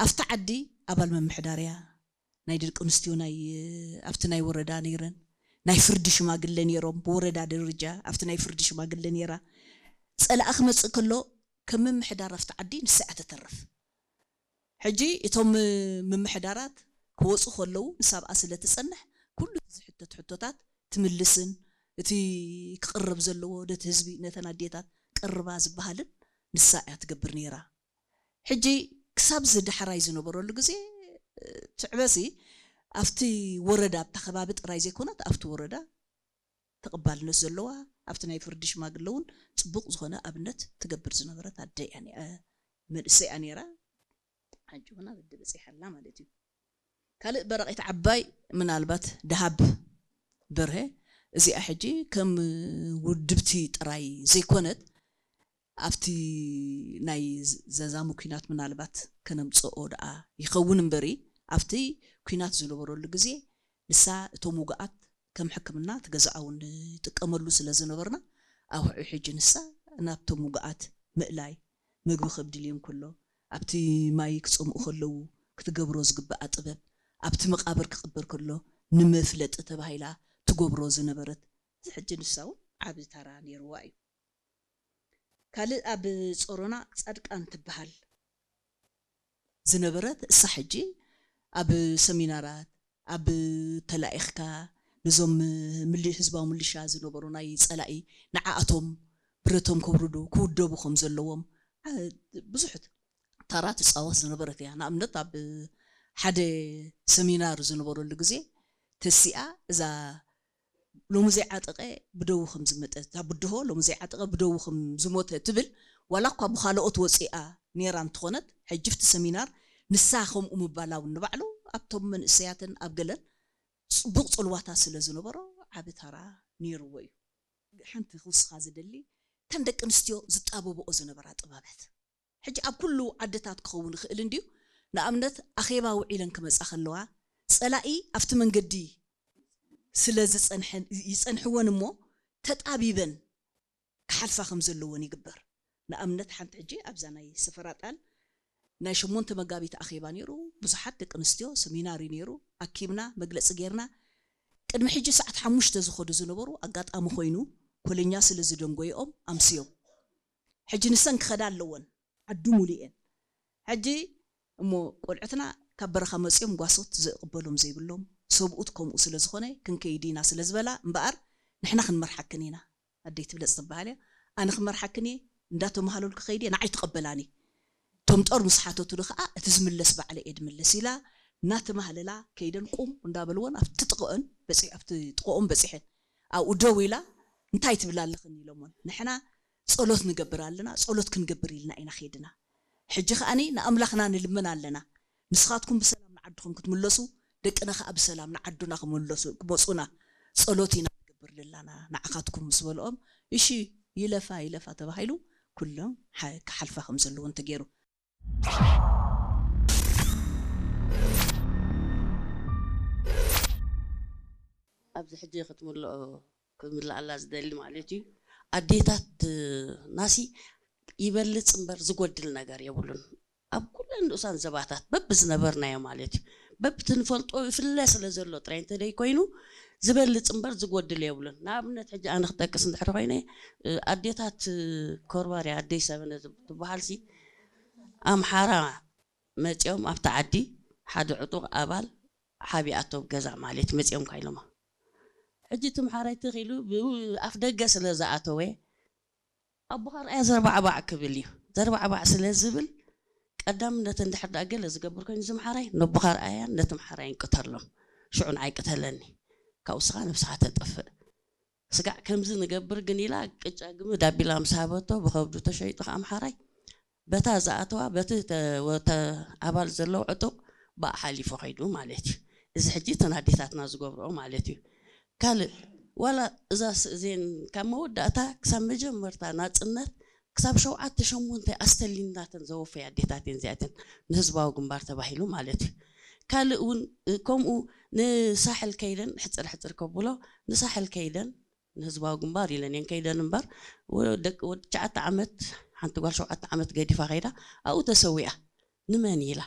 ኣብቲ ዓዲ ኣባል ምምሕዳር እያ። ናይ ደቂ ኣንስትዮ ናይ ኣብቲ ናይ ወረዳ ነይረን፣ ናይ ፍርዲ ሽማግለ ነይሮም። ብወረዳ ደረጃ ኣብቲ ናይ ፍርዲ ሽማግለ ነይራ። ጸላኢ ክመጽእ ከሎ ከም ምምሕዳር ኣብቲ ዓዲ ንሳ እያ ተተርፍ። ሕጂ እቶም ምምሕዳራት ክወፁ ከለዉ ንሳ ኣብኣ ስለ ትጸንሕ፣ ኩሉ እቲ ዝሕተት ሕቶታት ትምልስን እቲ ክቕረብ ዘለዎ ነቲ ህዝቢ፣ ነተን ኣዴታት ቀርባ ዝበሃልን ንሳ እያ ትገብር ነይራ። ሕጂ ክሳብ እዚ ዳሕራይ ዝነበረሉ ግዜ ትዕበሲ ኣብቲ ወረዳ ኣብታ ከባቢ ጥራይ ዘይኮነት ኣብቲ ወረዳ ተቐባልነት ዘለዋ ኣብቲ ናይ ፍርዲ ሽማግለ እውን ፅቡቕ ዝኾነ ኣብነት ትገብር ዝነበረት ኣደ እያ ነ- መንእሰይ እያ ነይራ። ሕጂ እውን ኣብ ኣደ በፂሓ ኣላ ማለት እዩ። ካልእ በረቒት ዓባይ ምናልባት ደሃብ በርሀ እዚኣ ሕጂ ከም ውድብቲ ጥራይ ዘይኮነት ኣብቲ ናይ ዘዛሙ ኲናት ምናልባት ከነምፅኦ ደኣ ይኸውን እምበሪ ኣብቲ ኲናት ዝነበረሉ ግዜ ንሳ እቶም ውጉኣት ከም ሕክምና እቲ ገዛኣ እውን ንጥቀመሉ ስለ ዝነበርና ኣብ ውዕኡ ሕጂ ንሳ ናብቶም ውጉኣት ምእላይ ምግቢ ከብድልዮም ከሎ ኣብቲ ማይ ክፀምኡ ከለዉ ክትገብሮ ዝግበኣ ጥበብ ኣብቲ መቓብር ክቕበር ከሎ ንመፍለጢ ተባሂላ ትገብሮ ዝነበረት እዚ ሕጂ ንሳ እውን ዓቢ ታራ ነይርዋ እዩ። ካልእ ኣብ ጾሮና ጻድቃን ትበሃል ዝነበረት እሳ ሕጂ ኣብ ሰሚናራት ኣብ ተላኢኽካ ነዞም ምሊ ህዝባዊ ምልሻ ዝነበሩ ናይ ጸላኢ ንዓኣቶም ብረቶም ከውርዱ ክውደቡ ከም ዘለዎም ዓ- ብዙሕ ታራ ትጻወት ዝነበረት እያ። ንኣብነት ኣብ ሓደ ሰሚናር ዝነበረሉ ግዜ ተሲኣ እዛ ሎሚ ዘይዓጠቐ ብደዉ ከም ዝመጠ እታ ብድሆ ሎሚ ዘይዓጠቐ ብደዉ ከም ዝሞተ ትብል ዋላ እኳ ብኻልኦት ወፂኣ ነይራ እንትኾነት ሕጂ ፍቲ ሰሚናር ንሳ ከምኡ ምባላ እውን ንባዕሉ ኣብቶም መንእሰያትን ኣብ ገለን ፅቡቕ ፅልዋታት ስለ ዝነበሮ ዓቢ ታራ ነይርዎ እዩ። ሓንቲ ክውስኻ ዝደሊ እተን ደቂ ኣንስትዮ ዝጣበብኦ ዝነበራ ጥበባት ሕጂ ኣብ ኩሉ ዓድታት ክኸውን ይኽእል እንድዩ። ንኣብነት ኣኼባ ውዒለን ክመጻ ከለዋ ጸላኢ ኣብቲ መንገዲ ስለ ዝጸንሐን ይጸንሕወን እሞ ተጣቢበን ክሓልፋ ከም ዘለወን ይግበር። ንኣብነት ሓንቲ ሕጂ ኣብዛ ናይ ሰፈራ ጣል ናይ ሸሞንተ መጋቢት ኣኼባ ነይሩ። ብዙሓት ደቂ ኣንስትዮ ሰሚናር እዩ ነይሩ። ኣኪብና መግለጺ ጌርና ቅድሚ ሕጂ ሰዓት ሓሙሽተ ዝኸዱ ዝነበሩ ኣጋጣሚ ኮይኑ ኮለኛ ስለ ዝደንጎየኦም ኣምስዮም። ሕጂ ንሰን ክኸዳ ኣለወን ዓዲ ሙሉ እየን። ሕጂ እሞ ቆልዑትና ካብ በረኻ መፅዮም ጓሶት ዘቕበሎም ዘይብሎም ሰብኡት ከምኡ ስለ ዝኾነ ክንከይድ ኢና ስለ ዝበላ እምበኣር ንሕና ክንመርሓክን ኢና ኣደይ ትብለፅ ትበሃል እያ። ኣነ ክመርሓክን እየ እንዳተመሃለልኩ ከይድ እየ ንዓይ ትቐበላኒ። እቶም ጦር ምስ ሓተቱኒ ከዓ እቲ ዝምለስ ባዕለ እየ ድምለስ ኢላ እናተማህለላ ከይደን ቁም እንዳበልወን ኣብቲ ጥቕኦን በፂ- ኣብቲ ጥቕኦም በፂሐን ኣብኡ ደው ኢላ እንታይ ትብላ ኣለኽን ኢሎሞን ንሕና ጸሎት ንገብር ኣለና፣ ጸሎት ክንገብር ኢልና ኢና ኸይድና። ሕጂ ኸኣኒ ንኣምላኽና ንልምን ኣለና። ንስኻትኩም ብሰላም ንዓድኹም ክትምለሱ፣ ደቅና ኸኣ ብሰላም ንዓዱና ክምለሱ ክመጹና ጸሎት ኢና ንገብር ለላና ንዓኻትኩም ምስ በልኦም፣ እሺ ይለፋ ይለፋ ተባሂሉ ኩሎም ሓ- ክሓልፋ ከም ዘለዎን ተገይሩ። ኣብዚ ሕጂ ክትምልኦ ክምልኣላ ዝደሊ ማለት እዩ። ኣዴታት ናሲ ይበልፅ እምበር ዝጎድል ነገር የብሉን። ኣብ ኩለን ንኡሳን ዘባታት በብዝነበርናዮ ማለት እዩ። በብቲ ንፈልጦ ይፍለ ስለ ዘሎ ጥራይ እንተደይ ኮይኑ ዝበልፅ እምበር ዝጎድል የብሉን። ንኣብነት ሕጂ ኣነ ክጠቅስ እንድሕር ኮይነ ኣዴታት ኮርባርያ ኣደይ ሰበነ ትበሃል ሲ ኣምሓራ መፂኦም ኣብቲ ዓዲ ሓደ ዕጡቕ ኣባል ሓቢኣቶ ገዛ ማለት መፂኦም ካይሎማ ሕጂ እቲ ምሓራይ ትኺሉ ኣፍ ደገ ስለ ዝኣተወ ኣቦኻ ርኣያ ዘርባዕባዕ ክብል እዩ። ዘርባዕባዕ ስለ ዝብል ቀዳምነት እንድሕር ደኣ ገለ ዝገብር ኮይኑ እዚ ምሓራይ ነቦኻ ርኣያን ነቲ ምሓራይን ቅተሎም። ሽዑ ንዓይ ቅተለኒ። ካብኡ ስኻ ነብስኻ ተጥፍእ። ስጋዕ ከምዚ ንገብር ግን ኢላ ቅጫ ግምድ ኣቢላ ምስ ሃበቶ ብኸብዱ ተሸይጡ ከዓ ምሓራይ በታ ዝኣተዋ በቲ ኣባል ዘለዎ ዕጡቕ ብኣ ሓሊፉ ከይዱ ማለት እዩ። እዚ ሕጂ እተን ኣዴታትና ዝገብርኦ ማለት እዩ። ካልእ ዋላ እዛ ስእዜን ካብ መወዳእታ ክሳብ መጀመርታ ናፅነት ክሳብ ሸውዓተ ሸሞንተ ኣስተሊናተን ዘወፈያ ኣዴታት እየን እዚኣተን ንህዝባዊ ግንባር ተባሂሉ ማለት እዩ። ካልእ እውን ከምኡ ንሳሕል ከይደን ሕፅር ሕፅር ከብሎ ንሳሕል ከይደን ንህዝባዊ ግንባር ኢለን እየን ከይደን እምበር ወዲ ትሽዓተ ዓመት ሓንቲ ጓል ሸውዓተ ዓመት ገዲፋ ከይዳ ኣብኡ ተሰዊኣ ንመን ኢላ